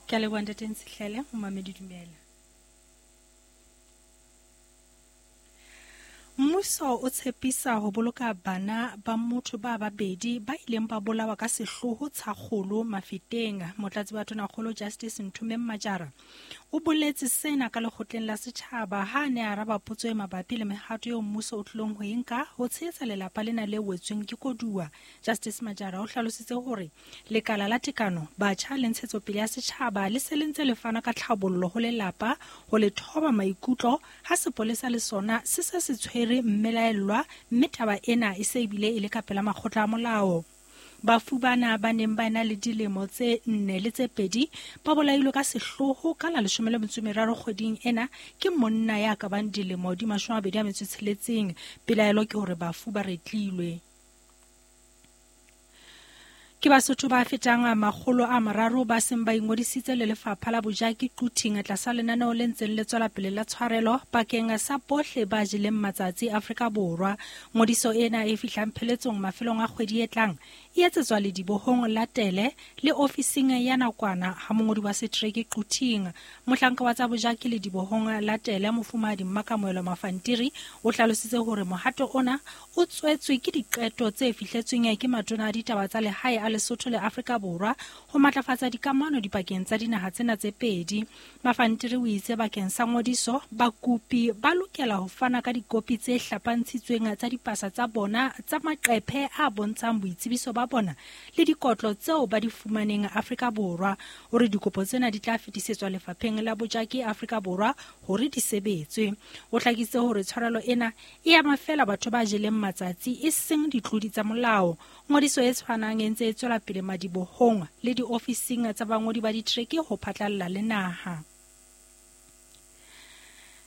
Ke a leboha Ntate Ntshihlele, momamedi dumela. Mmuso o tshepisa ho boloka bana ba motho ba babedi ba ileng ba bolawa ka sehloho Tshakgolo Mafeteng. Motlatsi wa Tonakgolo Justice Nthomeng Majara o boletse sena ka lekgotleng la setjhaba ha a ne a araba potso e mabapi le mehato eo mmuso o tlilong ho e nka ho tshehetsa lelapa lena le wetsweng ke koduwa. Justice Majara o hlalositse hore Lekala la Tekano, Batjha le Ntshetsopele ya Setjhaba le se le ntse le fana ka tlhabollo ho lelapa ho le thoba maikutlo ha sepolesa le sona se se se tshwere mmelaellwa mme taba ena e se ebile e le ka pela makgotla a molao. Bafu bana ba neng ba ena le dilemo tse nne le tse pedi ba bolailwe ka sehloho ka la 13 kgweding ena ke monna ya ka bang dilemo di 26. Pelaelo ke hore bafu ba retlilwe. Ke Basotho ba fetang 300 ba seng ba ingodisitse le lefapha la bojaki Quthing tlasa lenaneo le ntseng le tswela pele la tshwarelo bakeng sa bohle ba jeleng matsatsi Afrika Borwa. Ngodiso ena e fihlang pheletsong mafelong a kgwedi e tlang e etsetswa ledibohong la Tele le ofising ya nakwana ha mongodi wa setereke Quthing. Mohlanka wa tsa bojaki ledibohong la Tele Mofumahadi Mmakamoelo Mafantiri o hlalositse hore mohato ona o tswetswe ke diqeto tse fihletsweng ke matona a ditaba tsa lehae a Lesotho le Afrika Borwa ho matlafatsa dikamano dipakeng tsa dinaha tsena tse pedi. Mafantiri o itse bakeng sa ngodiso, bakopi ba lokela ho fana ka dikopi tse hlapantshitsweng tsa dipasa tsa bona tsa maqephe a bontshang boitsebiso ba bona le dikotlo tseo ba di fumaneng Afrika Borwa. O re dikopo tsena di tla fetisetswa lefapheng la bojaki Afrika Borwa hore di sebetswe. O hlakisitse hore tshwarelo ena e ama feela batho ba jeleng matsatsi e seng ditlodi tsa molao. Ngodiso e tshwanang e ntse e tswela pele madibohong le diofising tsa bangodi ba ditereke ho phatlalla le naha.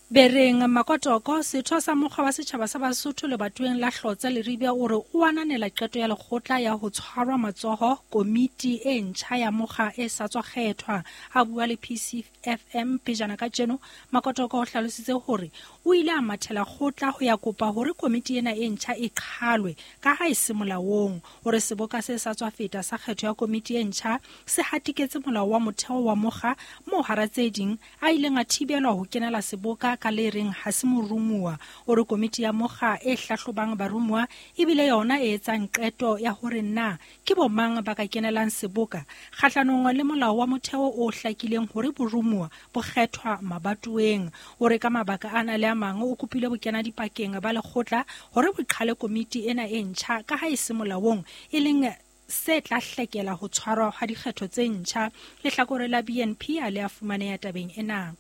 Bereng Makotoko, setho sa mokgwa wa setjhaba sa Basotho lebatoweng la Hlotse Leribe o re o ananela qeto ya lekgotla ya ho tshwarwa matsoho komiti e ntjha ya mokga e sa tswa kgethwa. A bua le PC FM pejana kajeno, Makotoko o hlalositse hore o ile a mathela kgotla ho ya kopa hore komiti ena e ntjha e qhalwe ka ha e se molaong. O re seboka se sa tswa feta sa kgetho ya komiti e ntjha se hatiketse molao wa motheo wa mokga moo hara tse ding a ileng a thibelwa ho kenela seboka ka le reng ha se morumuwa. O re komiti ya mokga e hlahlobang barumuwa ebile yona e etsang qeto ya hore na Ke bo-mang ba ka kenelang seboka kgahlanong le molao wa motheo o hlakileng hore boromuwa bo kgethwa mabatoweng? O re ka mabaka ana le a mang o kopile bokenadipakeng ba lekgotla hore bo qhale komiti ena e ntjha ka ha e se molaong, e leng se tla hlekela ho tshwarwa ha dikgetho tse ntjha. Lehlakore la BNP ha le a fumaneha tabeng ena.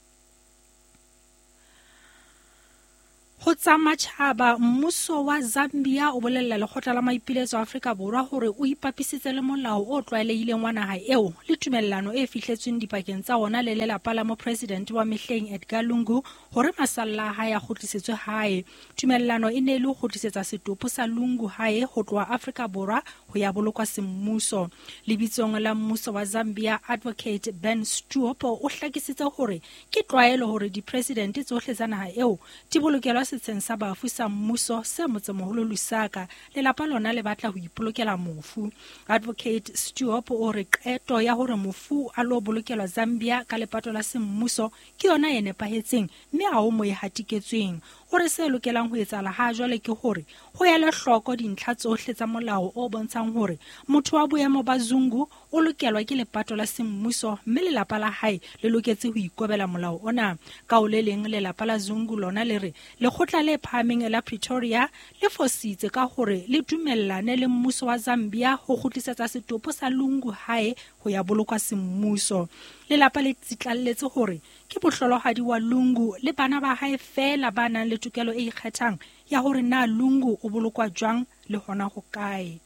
Ho tsa matjhaba, mmuso wa Zambia o bolella lekgotla la maipiletso a Afrika Borwa hore o ipapisitse le molao o tlwaelehileng wa naha eo le tumellano e fihletsweng dipakeng tsa ona le lelapa la mopresidente wa mehleng Edgar Lungu hore masalla a hae a kgutlisetswe hae. Tumellano e ne e le ho kgutlisetsa setopo sa Lungu hae ho tloha Afrika Borwa ho ya bolokwa semmuso. Lebitsong la mmuso wa Zambia, Advocate Ben Stuop o hlakisitse hore Ke tlwaelo hore dipresidente tsohle tsa naha eo di bolokelwa setsheng sa bafu sa mmuso se motsemoholo Lusaka. Lelapa lona le batla ho ipolokela mofu. Advocate Stuop o re qeto ya hore mofu a lo bolokelwa Zambia ka lepato la semmuso ke yona e nepahetseng mme ha ho mo e hatiketsweng. O re se lokelang ho etsahala ha jwale ke hore ho elwe hloko dintlha tsohle tsa molao o bontshang hore motho wa boemo ba Zungu o lokelwa ke lepato la semmuso mme lelapa la hae le loketse ho ikobela molao ona. Ka ho le leng, lelapa la Zungu lona le re lekgotla le phahameng la Pretoria le fositse ka hore le dumellane le mmuso wa Zambia ho kgutlisetsa setopo sa Lungu hae ho ya bolokwa semmuso. Lelapa le tsitlalletse hore ke mohlolohadi wa Lungu le bana ba hae feela ba nang le tokelo e ikgethang ya hore na Lungu o bolokwa jwang le hona hokae.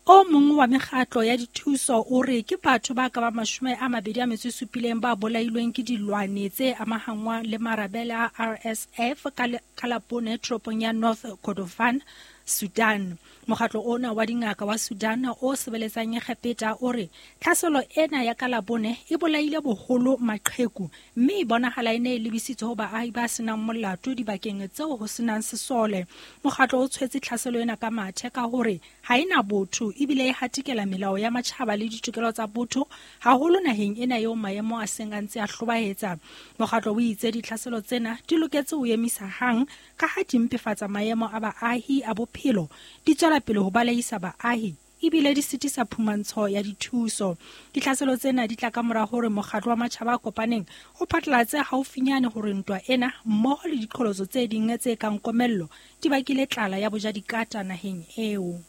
O mong wa mekgatlo ya dithuso o re ke batho ba ka ba 27 ba bolailweng ke dilwane tse amahangwang le marabele a RSF ka Labone toropong ya North Kordofan. Sudan. Mokgatlo ona wa dingaka wa Sudan o sebeletsang Egepeta o re tlhaselo ena ya ka Labone e bolaile boholo maqheku mme e bonahala e ne e lebisitswe ho baahi ba senang molato dibakeng tseo ho senang sesole. Mokgatlo o tshwetse tlhaselo ena ka mathe ka hore ha e na botho ebile e hatikela melao ya matjhaba le ditokelo tsa botho haholo naheng ena eo maemo a seng a ntse a hlobaetsa. Mokgatlo o itse ditlhaselo tsena di loketse ho emisa hang ka ha di mpefatsa maemo a baahi a bophelo, di tswela pele ho baleisa baahi ebile di sitisa phumantsho ya dithuso. Ditlhaselo tsena di tla ka mora hore mokgatlo wa matjhaba a kopaneng o phatlalatse haufinyane hore ntwa ena mmoho le diqholotso tse ding tse kang komello di bakile tlala ya bojadikata naheng eo.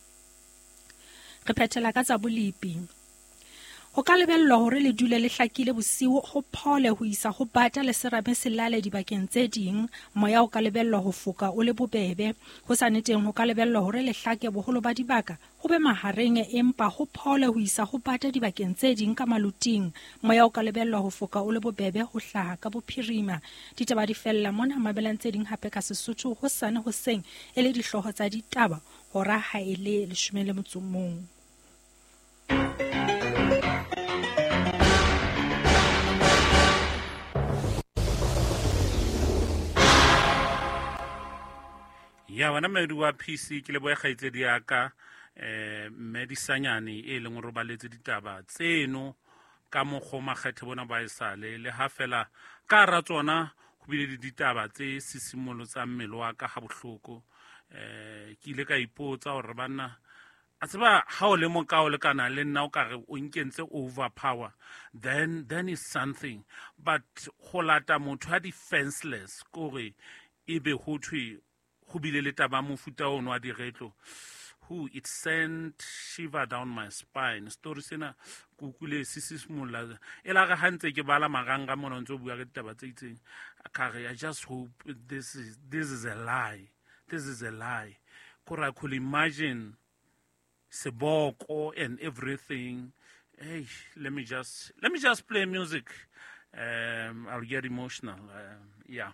Re phethela ka tsa bolepi. Ho ka lebellwa hore le dule le hlakile bosiu ho phole ho isa ho bata le serame se lale dibakeng tse ding. Moya o ka lebellwa ho foka o le bobebe. Ho sa neteng ho ka lebellwa hore le hlake boholo ba dibaka ho be mahareng empa ho phole ho isa ho bata dibakeng tse ding ka maluting. Moya o ka lebellwa ho foka o le bobebe ho hlaha ka bophirima. Ditaba di fella mona, mamelang tse ding hape ka Sesotho hosane hoseng e le dihlooho tsa ditaba hora ha e le 11. Ya wena mmedi wa PC ke lebohe kgaitsedi ya ka mme Disanyane e leng hore robaletse ditaba tseno ka mokgwa o makgethe bona ba esale le ha fela ka hara tsona ho bile le ditaba tse sisimolotsang mmele wa ka ha bohloko. Ke ile ka ipotsa hore banna a tseba ha o le moka o lekana le nna o ka re o nkentse overpower, then is something. But ho lata motho a defenseless kore ebe ho thwe ho bile le taba mofuta ono wa diretlo, who it sent shiver down my spine. Story sena ke utlwile se sisimolla e la re ha ntse ke bala marang-rang mona o ntso bua ka ditaba tse itseng, ka re I just hope this is a lie. This is a lie. Kore I could imagine seboko and everything. Hey, let me just play music. I'll get emotional. Yeah.